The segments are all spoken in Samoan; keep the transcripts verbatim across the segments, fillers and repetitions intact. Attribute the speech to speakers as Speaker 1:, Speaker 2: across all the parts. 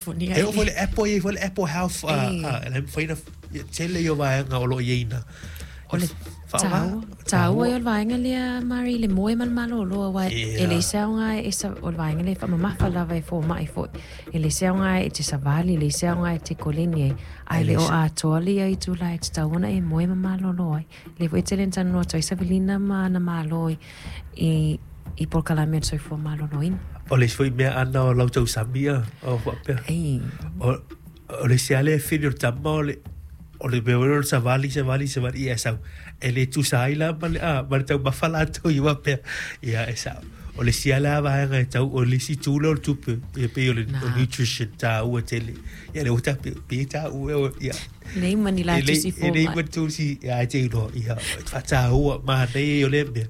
Speaker 1: E oo foi le Apple, e i ai foi le Apple Health, a, e le mafai ona tele ia o vaega o lo o i ai ina.
Speaker 2: O le taua, taua ia o le vaega lea, Mari, le moe ma le malolo, aua e leai se aoga e, o le vaega lea e faamamafa lava e fomai foi. E leai se aoga e te savali, e leai se aoga e te koleni ai, ae le o atoa le ia itula e tatau ona e moe ma malolo ai. Lea foi e tele ina talanoa atu ai Savelina ma ana malo i, i, i polokalame o le soifua maloloina.
Speaker 1: O le isi foi mea ana o lau tausami a, o faapea.
Speaker 2: Ei.
Speaker 1: O, o le isi lava lea fili o le tama o le, o le mea foi lea o le savali, savali, savali, ia e sau. E le tusa ai la ma le, a, ma le taumafa latou ia faapea. Ia e sao. O le isi lava lea vaega e tau, o le isi itu lea o le tupe, ia pei o le
Speaker 2: Na.
Speaker 1: nutrition taua tele. Ia lea ua tape, pei e taua e, ia.
Speaker 2: Nei ma ni la
Speaker 1: E lei,
Speaker 2: tusi
Speaker 1: e lei
Speaker 2: fomai.
Speaker 1: ma tusi, ia e te iloa, ia, faataua, manaia ia o lea mea.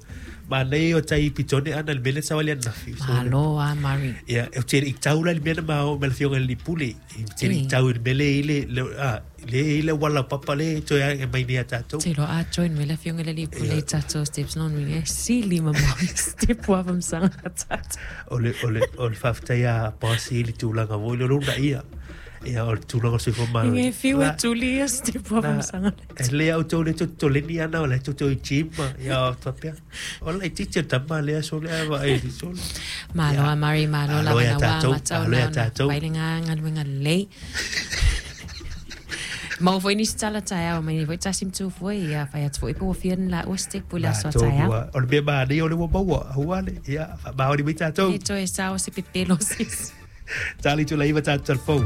Speaker 1: Manaia ia o tai pitone ana le mea lea na savali ananafi. So,
Speaker 2: Malo a Mari.
Speaker 1: Ia, ou te le i tau la i le mea na ma o ma le afioga i le alii pule. Ou te le i
Speaker 2: Ei.
Speaker 1: tau i le mea lea e i le, le, a, lea e i le auala papa lea e toe ae mai nei ia tatou.
Speaker 2: Te iloa a join mai le afioga i le alii pule
Speaker 1: Ia.
Speaker 2: i tatou steps lona uiga e sili mamao i step ua faamasanga a tatou.
Speaker 1: O le, o le, o le faafetai a Boss i le tulaga foi lea o lona ia. Ia, o le tulaga o le soifua
Speaker 2: Inga
Speaker 1: maloloina.
Speaker 2: e fiu e
Speaker 1: La,
Speaker 2: tuli ia step ua
Speaker 1: na,
Speaker 2: faamasanga
Speaker 1: e lelei a outou lea tou te toleni ana o la e tou te o i gym ma, ia, o faapea. O le laitiiti o le tama lea sole a vaai i sole.
Speaker 2: Malo
Speaker 1: Ia,
Speaker 2: a Mari, malo
Speaker 1: alo
Speaker 2: lava
Speaker 1: ia
Speaker 2: na ua
Speaker 1: tatou,
Speaker 2: matau
Speaker 1: alo ia
Speaker 2: na ona
Speaker 1: tatou.
Speaker 2: fai le galuega lelei. Maua foi nisi tala taeao mai nei foi tasi ma tu foi ia fai atu foi pe ua fia ni laua step i le aso a
Speaker 1: Latou
Speaker 2: taeao.
Speaker 1: ua, o le mea manaia o le ua maua, aua le, ia, faamaoni mai tatou.
Speaker 2: E le toe sao se pepelo se isi.
Speaker 1: Tali tula iwa tatou talafou.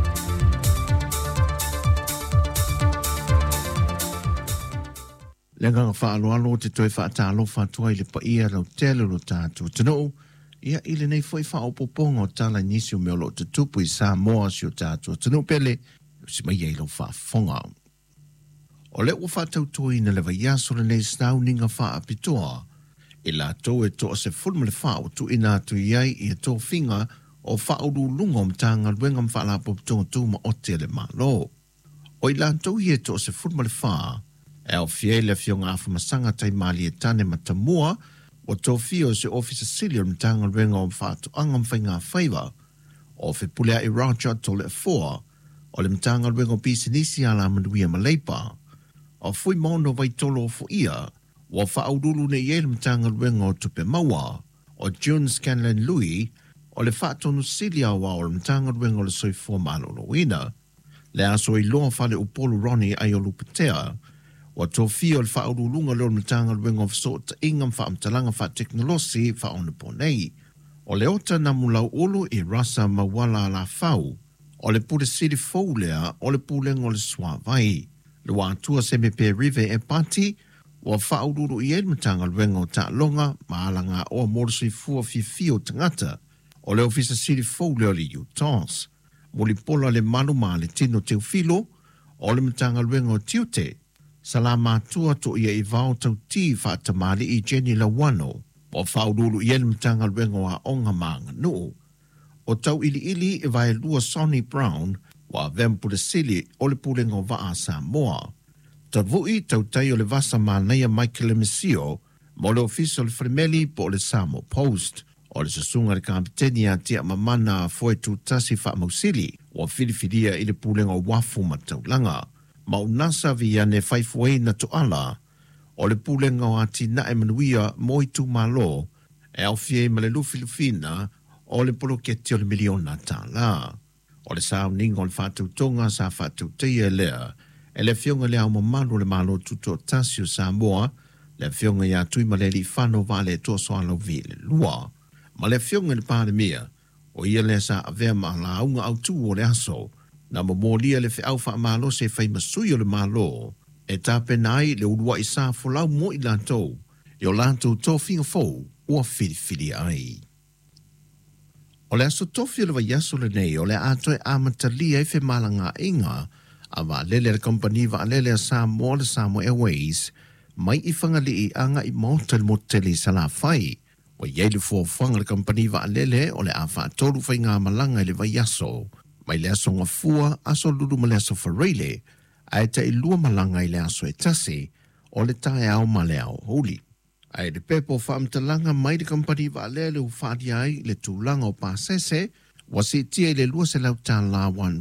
Speaker 3: Le agaga faaaloalo o te toe faatalofa atu ai i le paia lautele o lo tatou atunuu, ia i lenei foi faaopoopoga o tala i nisi o mea o lo o tutupu i Samoa si o tatou atunuu pele, e usi mai ai lau faafofoga. O lea ua faatautoina le vaiaso lenei sauniga faapitoa i latou e toasefulu ma le fa ua tuuina atu i ai ia tofiga o faauluuluga o Matagaluega ma Faalapotopotoga Tumaoti a le Malo. O i latou ia e toasefulu ma le fa, e aofia ai le Afioga Afamasaga Taimalietane Matamua, ua tofia o se Ofisa Sili o le Matagaluega o Faatoaga ma Faigafaiva, o Fepuleai Roger Toleafoa, o le Matagaluega o Pisinisi Alamanuia ma Leipa, o Fuimaono Vaitolo Ofoia, ua faauluulu nei i ai le Matagaluega o Tupe Maua, o June Scanlan Lui, o le Faatonu Sili Aoao o le Matagaluega o le Soifua Maloloina, le Aso Iloa Faleupolu Ronnie Aiolupetea, ua tofia o le faauluuluga lea o le Matagaluega o Fesootaiga ma Faamatalaga Faatekonolosi Faaonaponei. O le Ota Namulauulu i Rasa Mauala Alafau, o le Pule Sili fou lea o le Pulega o le Suavai. Luatua Semepe Rive Epati, ua faauluulu i ai le Matagaluega o Taaloga ma Alagaoa mo le Soifua Fiafia o Tagata, o le Ofisa Sili fou lea o le U T O S. Mulipola le Malu ma le Tino Teufilo, o le Matagaluega o Tiute. Salamatua to ia i vao tauti faatamali'i Jenny Lawano, ua faauluulu i ai le Matagaluega o Aoga ma Aganuu. O tauiliili e vaelua Sonny Brown, ua avea ma Pule Sili o le Pulega o Vaa a Samoa. Tavu'i tautai o le Vasa Manaia Michael Lemesio mo le Ofisa o le Falemeli po o le Samoa Post. O le susuga i le Kapiteni ia Tiamamana Foe Tutasi Faamausili, ua filifilia i le Pulega o Uafu ma Taulaga. Maunasa Viane Faifuaina Toala, o le Pulega o Atinae Manuia mo Itumalo, e aofia ai ma le lufilufina o le poloketi o le miliona tālā. O le sauniga o le faatautoga sa faatautaia lea e le Afioga i le Ao Mamalu o le Malo Tutoatasi o Samoa, le Afioga ia Tuimalealiifano Vaaletoa Sualauvi le lua. Ma le Afioga i le Palemia, o ia lea sa avea ma lauga autu o le aso, na momolia le feau faamalosi e fai ma sui o le Malo, e tapena ai le uluai sa folau mo i latou, i o latou tofiga fou ua filifilia ai. O le aso tofi o le vaiaso lenei o le a toe amatalia ai femalagaaiga a vaalele a le kamupani vaalele a Samoa le Samoa Airways mai i Fagalii agai maota i le motu tele i Salafai. Ua i ai le fuafuaga a le kamupani vaalele o le a faatolu faigamalaga i le vaiaso, mai le aso Gafua, aso Lulu ma le aso Faraile, ae tailua malaga i le aso e tasi o le taeao ma le aoauli. Ae le pepa o faamatalaga mai le kamupani vaalele ua faalia ai le tulaga o pasese ua siitia i le lua selau tālā one